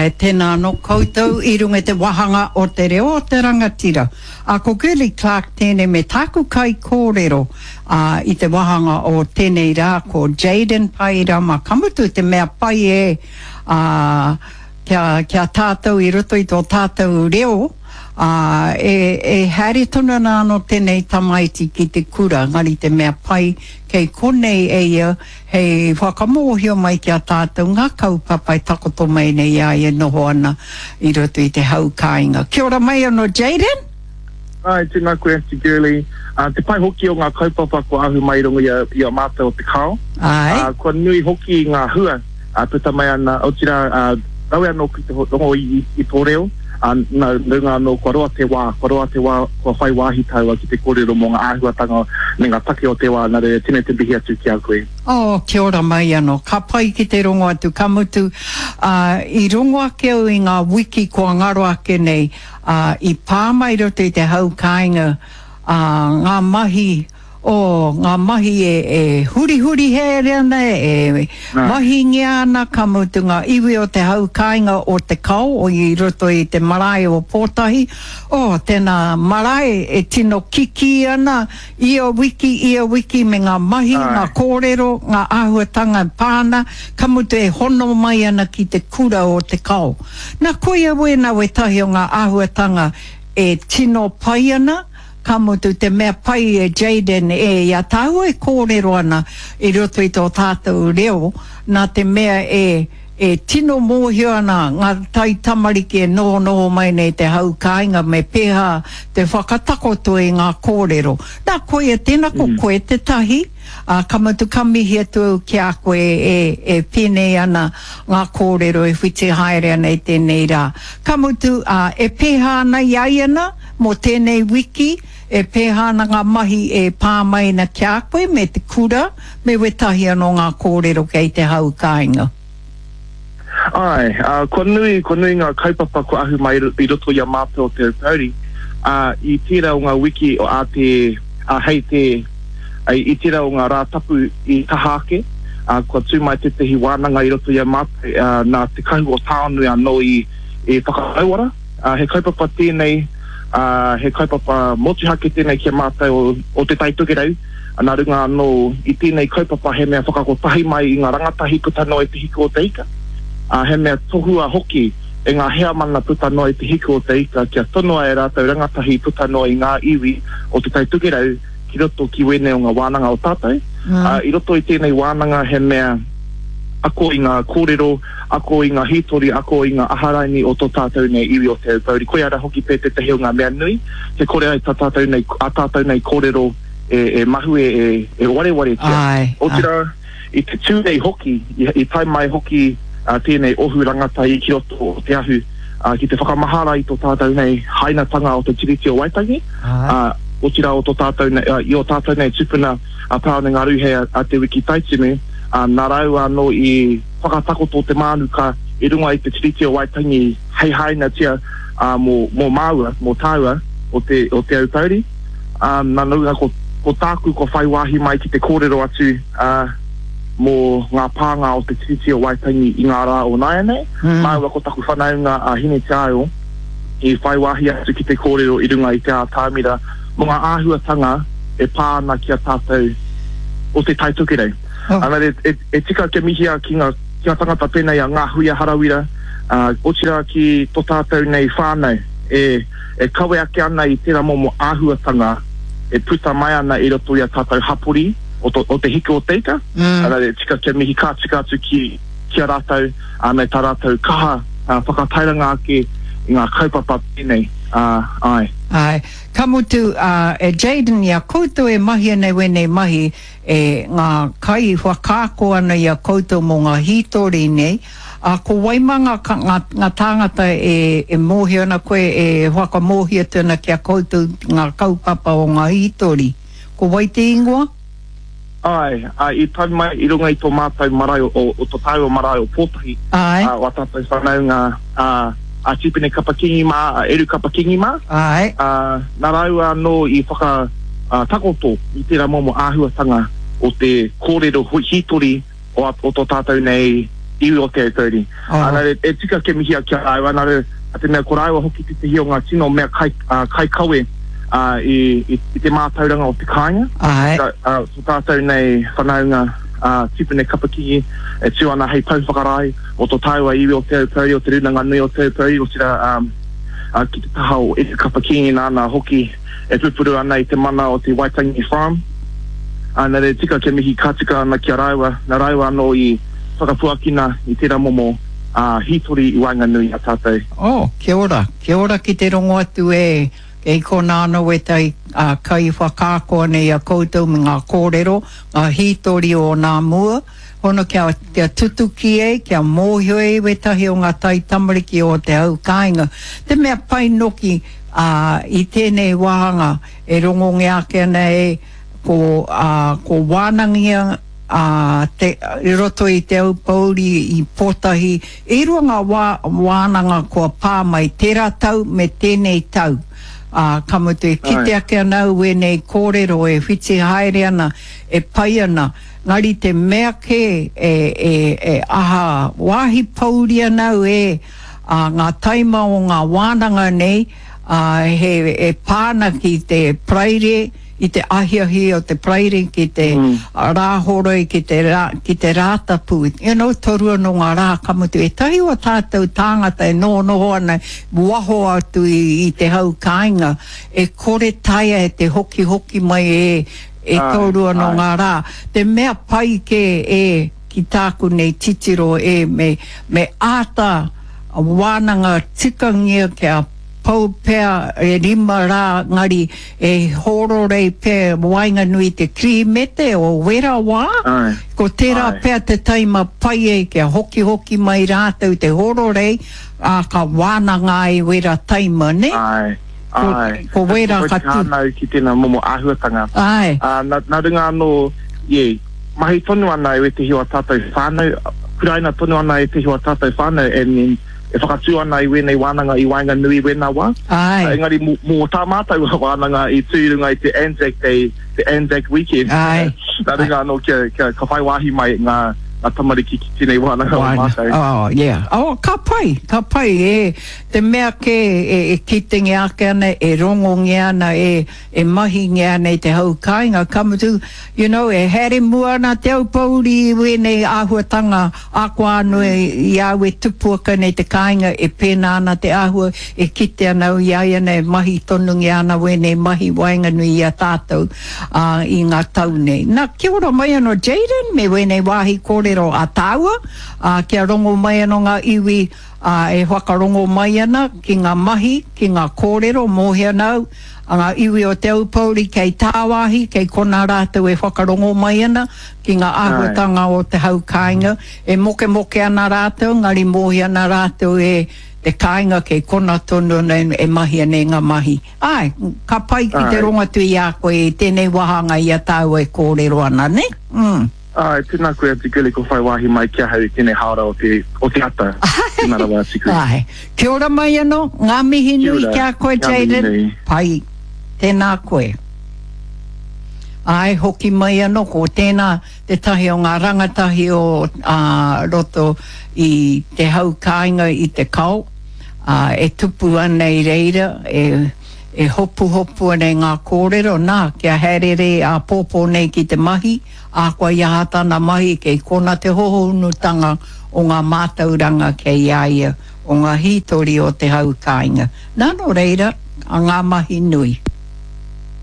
Āe, tēnā anō koutou i runga i te wāhanga o te reo o te rangatira. Ā, ko Girlie Clarke tēnei me tāku kaikōrero, ā, i te wāhanga o tēnei rā ko Jayden Pairama. Ka mutu te mea pai e, ā, kia, kia tātou i roto i tō tātou reo, ā, e, e haere tonu ana anō tēnei tamaiti ki te kura, engari te mea pai kei konei e ia Hei whakamōhio mai ki a tātou ngā kaupapa e takoto mai nei i a ia e noho ana i roto i te hau kāinga. Kia ora mai anō Jayden. Āe, tēnā koe Aunty Girlie. Te pai hoki o ngā kaupapa kua ahu mai i runga i a mātou o Te Kao. Āe. Kua nui hoki ngā hua puta mai ana, otirā, rawe anō ki te rongo i tō reo, nā runga anō kua roa te wā, kua roa te wā kua whai wāhi tāua ki te kōrero mō ngā āhuatanga me ngā take o te wā, nā reira tēnei te mihi atu ki a koe. Oh, kia ora mai anō. Ka pai ki te rongo atu, ka mutu, ā, i rongo ake au i ngā wiki kua ngaro ake nei, ā, i pā mai roto i te hau kāinga, ā, ngā mahi, O ngā mahi e, e hurihuri haere ana, e mahingia ana, ka mutu ngā iwi o te hau kāinga o Te Kao o i roto i te marae o Pōtahi, o tēnā marae e tino kikī ana ia wiki, ia wiki me ngā mahi, ngā kōrero, ngā āhuatanga e pā ana, ka mutu e hono mai ana ki te kura o Te Kao. Nā, koia wēnā wētahi o ngā āhuatanga e tino pai ana, Ka mutu te mea pai e Jayden e i a tāua e kōrero ana i roto i tō tātou reo nā te mea e e tino mōhio ana ngā taitamariki e nohonoho mai nei te hau kāinga me pēhā te whakatakoto i ngā kōrero. Nā koia tēnā ko koe tētahi, ā, ka mutu ka mihi atu au ki a koe e e pēnei ana ngā kōrero e whiti haere ana i tēnei rā. Ka mutu, ā, e pēhā ana i a ia nā? Mō tēnei wiki, e pēhā ana ngā mahi e pā mai ana ki a koe me te kura, me wētahi anō ngā kōrero kei te hau kāinga? Āe, ā, kua nui, kua nui ngā kaupapa kua ahu mai i roto i a mātou o Te Aupōuri, ā, i tērā o ngā wiki ā te, ā, hei te, i tērā o ngā rā tapu i taha ake, ā, kua tū mai tētahi wānanga i roto i a mātou, ā, nā Te Kahu o Tāonui anō i, i whakarauora. Ā, he kaupapa tēnei, ā, he kaupapa motuhake tēnei ki a mātou o, o Te Tai Tokerau, nā runga anō i tēnei kaupapa he mea whakakotahi mai i ngā rangatahi puta noa i Te Hiku o Te Ika, ā, he mea tohua hoki e ngā heamana puta noa i Te Hiku o Te Ika kia tonoa e rātou rangatahi puta noa i ngā iwi o Te Tai Tokerau ki roto ki wēnei o ngā wānanga o tātou. Ā, i roto i tēnei wānanga he mea ako i ngā kōrero, ako i ngā hītori, ako i ngā aharaini o tō tātou nei iwi o Te Aupōuri. Koia rā hoki pea tētahi o ngā mea nui, kia kore ai tā tātou nei, ā tātou nei kōrero e, e mahue, e, e warewaretia. Āe, āe. Otirā, i te Tūrei hoki, i, i tae mai hoki ā, tēnei ohu rangatahi ki roto o Te Ahu, ā, ki te whakamahara i tō tātou nei hainatanga o te Tiriti o Waitangi, Āe. ā, otirā o tō tātou nei, ā, i ō tātou nei tūpuna a Tāone Ngāruhe, a Te Wiki Taitimu, ā, nā rāua anō i whakatakoto te mānuka i runga i te Tiriti o Waitangi hei hainatia ā, mō, mō māua, mō tāua o te, o Te Aupōuri. Ā, nā runga ko, ko tāku kua whai wāhi mai ki te kōrero atu, ā, mō ngā pānga o te Tiriti o Waitangi i ngā rā o nāianei. Māua ko taku whanaunga a Hineteaio i whai wāhi atu ki te kōrero i runga i te ātamira mō ngā āhuatanga e pā ana ki a tātou o Te Tai Tokerau. Oh. Ā, e, e tika kia mihia ki ngā, ki ngā tangata pēnei a Ngāhuia Harawira, ā, otirā ki tō tātou nei whānau e, e kawe ake ana i tērā momo āhuatanga e puta mai ana i roto i a tātou hapori o, to, o te hiku o te ika. Mm. Ā, e tika kia mihi ka tika atu ki, ki a rātou, ā, me tā rātou kaha ā, whakatairanga ake i ngā kaupapa pēnei. Ā, āe. Āe. Ka mutu, ā, e Jayden, i a koutou e mahi ana i wēnei mahi, e ngā kai whakaako ana i a koutou mō ngā hītori nei, ā, ko wai mā ngā, ngā, ngā tāngata e, e mōhio ana koe, e whakamōhio atu ana ki a koutou ngā kaupapa o ngā hītori? Ko wai te ingoa? Āe, ā, i tau mai i runga i tō mātou marae o, o tō tāua marae o Pōtahi, Āe. ā, o ā tātou whanaunga, ā, a Tipene Kapa Kingi mā, a Eru Kapa Kingi mā. Āe. Ā, nā rāua anō i whaka, ā, takoto i tērā momo āhuatanga o te kōrero hītori o, o tō tātou nei, iwi o Te Aupōuri. Oh. Nā reira, e tika kia mihia ki a rāua, nā reira, nā te mea ko rāua hoki tētehi o ngā tino mea kai, uh, kaikawe uh, i, i, i te mātauranga o te kāinga. Āe. Ka, uh, ko tātou nei whanaunga uh, Tipene Kapakingi e tū ana hei pou whakarae o tō tāua iwi o Te Aupōuri, o Te Rūnanga Nui o Te Aupōuri, otirā um, uh, ki te taha o Eru Kapa-Kingi nāna hoki e pupuru ana i te mana o te Waitangi Farm. Ā, nā reira tika kia mihi ka tika ana ki a rāua, nā rāua anō i whakapuakina i tērā momo ā, hītori i waenganui i a tātou. Oh, kia ora, kia ora ki te rongo atu e, kei konā anō wētahi ā, kaiwhakaako ana i a koutou me ngā kōrero, ngā hītori o nā mua, hono kia, kia tutuki ai, kia mōhio ai wētahi o ngā taitamariki o te hau kāinga. Te mea pai noki, ā, i tēnei wāhanga e rongongia ake ana e, ko, ā, ko wānangia, ā, te, i roto i Te Aupōuri i Pōtahi, e rua ngā wā, wānanga kua pā mai tērā tau me tēnei tau. Ā, ka mutu e kite ake ana au wēnei kōrero e whiti haere ana, e pai ana, Ngari te mea kē e, e, e aha wāhi pōuri ana au e, ā, ngā taima o ngā wānanga nei, ā, he, e pā ana ki te Paraire, i te ahiahi o te Paraire ki te Rāhoroi, ki te rā, ki te Rātapu, you know, toru anō ngā rā ka mutu ētahi o ā tātou tāngata e nohonoho ana waho atu i, i te hau kāinga, e kore taea e te hokihoki mai e, E toru ano ngā rā. Te mea pai kē e ki tāku nei titiro e me me āta wānanga tikangia kia pau pea e rima rā ngari e hōrorei pea waenganui i te Kirihimete o wera wā, ko tērā pea te taima pai e kia hokihoki mai rātou te hōrorei, ā, ka wānanga ai wera taima, nē? Āe, āe. Ko wērā ka tū. Ka whānau ki tēnā momo āhuatanga. Āe. Ā, nā, nā runga anō, yeah, mahi tonu ana e wētehi o ā tātou whānau, kuraina tonu ana ētehi o ā tātou whānau and then e whakatū ana i wēnei wānanga i waenganui i wēnā wā. Āe. Engari mō, mō tā mātou wānanga i tū i runga i te Anzac Day, te Anzac Weekend. Āe. Nā runga anō kia, kia, ka whai wāhi mai ngā, ngā tamariki ki tēnei wānanga o mātou. Oh, yeah. Oh, ka pai, ka pai, e. Te mea kē e kitengia ake ana, e rongongia ana, e mahingia ana e te hau kāinga, ka mutu, you know, e haere mua ana te aupōuri i wēnei āhuatanga ākoa anō i a au e tupu ake ana i te kāinga e pēnā ana te āhua e kite ana au i a ia nei e mahi tonungia ana wēnei mahi waenganui i a tātou, ā, i ngā tau nei. Nā, kia ora mai anō Jayden me wēnei wāhi kōrero a tāua, ā, kia rongo mai anō ngā iwi, ā, e whakarongo mai ana ki ngā mahi, ki ngā kōrero, mōhio ana au, a ngā iwi o Te Aupōuri kei tāwāhi, kei konā rātou e whakarongo mai ana ki ngā āhuatanga o te hau kāinga, e mokemoke ana rātou, engari mōhio ana rātou e te kāinga kei kona tonu ana e mahia nei ngā mahi. Āe, ka pai ki te rongo atu i a koe i tēnei wāhanga i a tāua e kōrero ana, nē? Mm. Āe, tēnā koe a Tikuli kua whai wāhi mai ki ahau i tēnei hāora o te, o te ata. Tēnā rawa a Tikuli. Āe. Kia ora mai anō, ngā mihi nui ki a koe Jayden. Pai. Tēnā koe. Āe, hoki mai anō, ko tēnā tētahi o ngā rangatahi o ā, roto i te hau kāinga i Te Kao, ā, e tupu ana i reira, e, e hopuhopu ana i ngā kōrero, nā, kia haerere āpōpō nei ki te mahi, Ahakoa i aha tana mahi, kei kona te hohonutanga o ngā mātauranga kei a ia, o ngā hītori o te hau kāinga. Nā, nō reira, ngā mahi nui.